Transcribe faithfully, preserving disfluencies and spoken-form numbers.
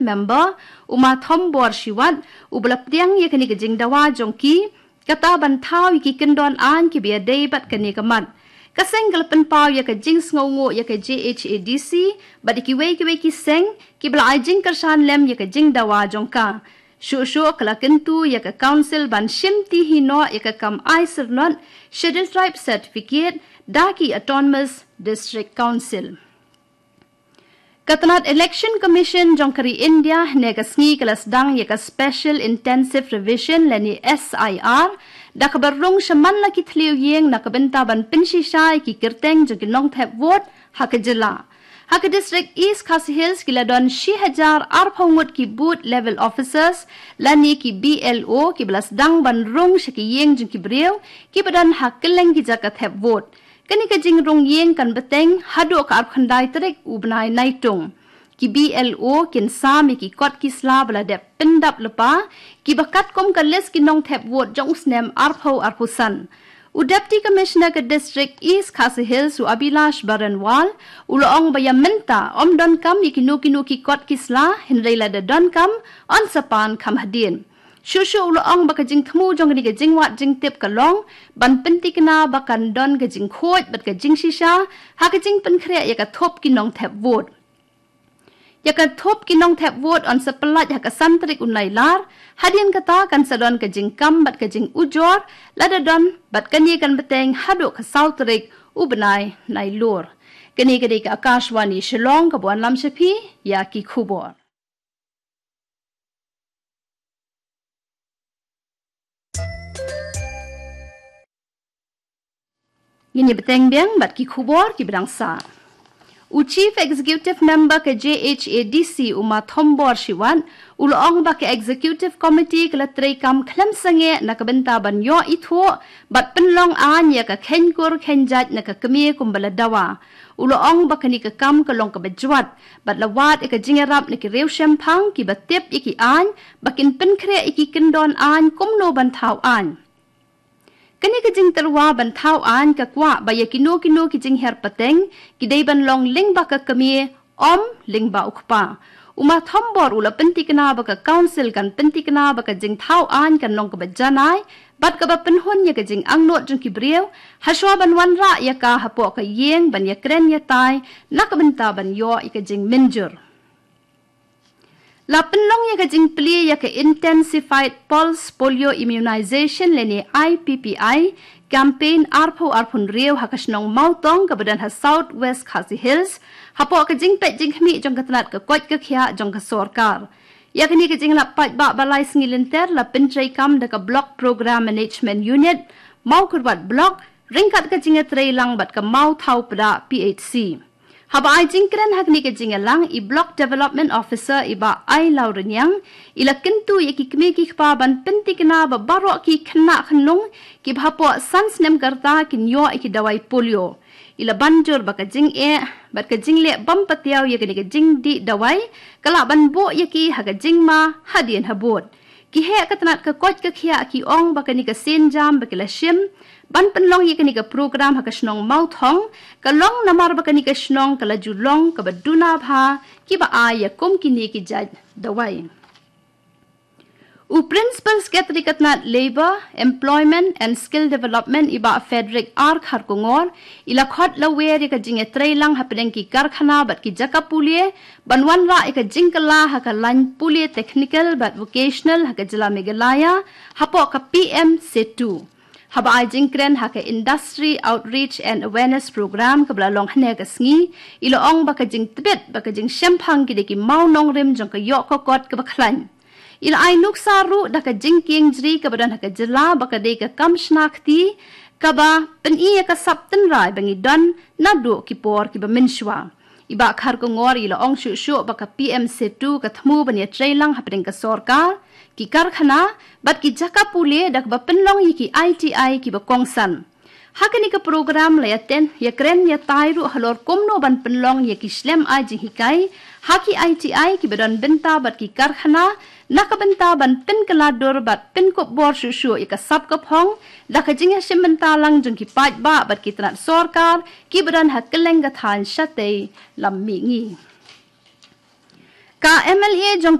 Member, u Ma Thombor Shiwat, u ba la pdiang ïa kane ka jingdawa jong ki, kata ban thaw ïa ki kyndon aiñ kiba ïadei bad kane ka mat. Ka seng ka la pynpaw ïa ka jingsngewnguh ïa ka J H A D C, bad ïa kiwei kiwei ki seng, kiba la ai jingkyrshan lem ïa ka jingdawa jong ka. Shuh shuh ka la kyntu ïa ka council ban shim ti hi noh ïa ka kam ai syrnot, Scheduled Tribe Certificate, da ki Autonomous District Council. Ka tnat Election Commission jong ka ri India, hynne ka sngi ka la sdang ïa ka Special Intensive Revision lane S I R, da kaba rung shaman la ki thliew ïing na ka bynta ban pynshisha ïa ki kyrteng jong ki nongthep vote, ha ka jylla. Ha ka district East Khasi Hills ki la don shi hajar arphew ngut ki booth level officers, lane ki B L O kiba la sdang ban rung sha ki ïing jong ki briew, kiba don ha kylleng ki jaka thep vote. Kane ka jingrung ïing kan bteng haduh ka arphew khyndai tarik u bnai Naitung. Ki B L O kin sam ïa ki kot ki sla ba la dep pyndap lypa, kiba katkum ka list ki nongthep vote jong u snem arphew arphew san. U Deputy Commissioner ka District East Khasi Hills u Abhilash Baranwal, u la ong ba ïa mynta, ym donkam ïa kino kino ki kot ki sla, hynrei lada donkam, yn sa pan kham hadien. Shuh shuh u la ong ba ka jingthmu jong kane ka jingwad jingtip ka long, ban pynthikna ba kan don ka jingkhuid, bad ka jingshisha, ha ka jingpynkhreh ïa ka thup ki nongthep vote. Ïa ka thup ki nongthep vote yn sa pyllait ha ka san tarik u Nailar, hadien kata kan sa don ka jingkam bad ka jingujor, lada don, bad kane kan bteng haduh ka saw tarik u bnai Nailur. Kane ka dei ka Akashvani Shillong kaba wanlam sha phi, ïa ki khubor. Ngin ïa bteng biang bad ki khubor kiba dang sah. U Chief Executive Member ka J H A D C u Ma Thombor Shiwat, u la ong ba ka Executive Committee ka la treikam khlem sangeh na ka bynta ban ïoh ithuh, bad pynlong aiñ ïa ka khein kur khein jait na ka kmie kumba la dawa. U la ong ba kane ka kam ka long kaba jwat, bad la wad ïa ka jingïarap na ki riewshemphang kiba tip ïa ki aiñ, ba kin pynkhreh ïa ki kyndon aiñ kumno ban thaw aiñ. Kane ka jingtyrwa ban thaw aiñ ka kwah ba ïa kino kino ki jinghiar pateng, ki dei ban long lyngba ka kmie, ym lyngba u kpa. U Ma Thombor u la pynthikna ba ka council kan pynthikna ba ka jingthaw aiñ kan long kaba janai, bad kaba pynhun ïa ka jingangnud jong ki briew, hashwa ban wanrah ïa ka hapoh ka ïing ban ïakren ïatai, na ka bynta ban ïoh ïa ka jingmynjur. La pynlong ïa ka jingplie ïa ka Intensified Pulse Polio Immunization lane I P P I campaign arphew arphew hynriew ha ka shnong Mawtong kaba don ha South West Khasi Hills, hapoh ka jingpeit jingkhmih jong ka tnat ka koit ka khiah jong ka sorkar. Ïa kane ka jinglap paidbah ba lai sngi lynter la pyntreikam da ka Block Program Management Unit, Mawkyrwat Block, ryngkat ka jingïatreilang bad ka Mawthaw Pdeng P H C. Haba ai jingkren ha kane ka jingïalang i Block Development Officer i Bah Ailawrynïang, i la kyntu ïa ki kmie ki kpa ban pynthikna ba baroh ki khynnah khynlung kiba hapoh san snem ka rta kin ïoh ïa ki dawai polio. I la ban jur ba ka jingeh, bad ka jingleh bym patiaw ïa kane ka jingdih dawai, ka lah ban buh ïa ki ha ka jingma, hadien habud. Ki heh ka tnat ka koit ka khiah ki ong ba kane ka sienjam ba ki la shim, ban pynlong ïa kane ka program ha ka shnong Mawtong, ka long namar ba kane ka shnong ka la ju long kaba duna bha, kiba ai ïa kum kine ki jait dawai. U Principal Secretary ka tnat Labour, Employment and Skill Development i Bah Frederick R Kharkongor, i la khot lawer ïa ka jingïatreilang hapdeng ki karkhana bad ki jaka pule, ban wanrah ïa ka jingkylla ha ka lain pule technical bad vocational ha ka jylla Meghalaya, hapoh ka P M Setu. Haba ai jingkren ha ka Industry Outreach and Awareness Program kaba la long hynne ka sngi, i la ong ba ka jingtbit, bad ka jingshemphang ki dei ki mawnongrim jong ka ïoh ka kot kaba khlaiñ. I la ai nuksa ruh da ka jingkieng jri kaba don ha ka jylla ba ka dei ka kam shna kti, kaba pyni ïa ka sap tynrai ba ngi don naduh ki por kiba mynshuwa. I Bah Kharkongor i la ong shuh shuh ba ka P M Setu ka thmu ban ïatreilang hapdeng ka sorkar, ki karkhana, bad ki jaka pule da kaba pynlong ïa ki I T I kiba kongsan. Ha kane ka program la ïaten, ïakren ïatai ruh halor kumno ban pynlong ïa ki shlem ai jinghikai, ha ki I T I kiba don bynta bad ki karkhana, na ka bynta ban pynkylla dur bad pynkup bor shuh shuh ïa ka sap ka phong, da ka jingïashim bynta lang jong ki paidbah bad ki tnat sorkar, kiba don ha kylleng ka thaiñ shatei lam mihngi. Ka MLA jong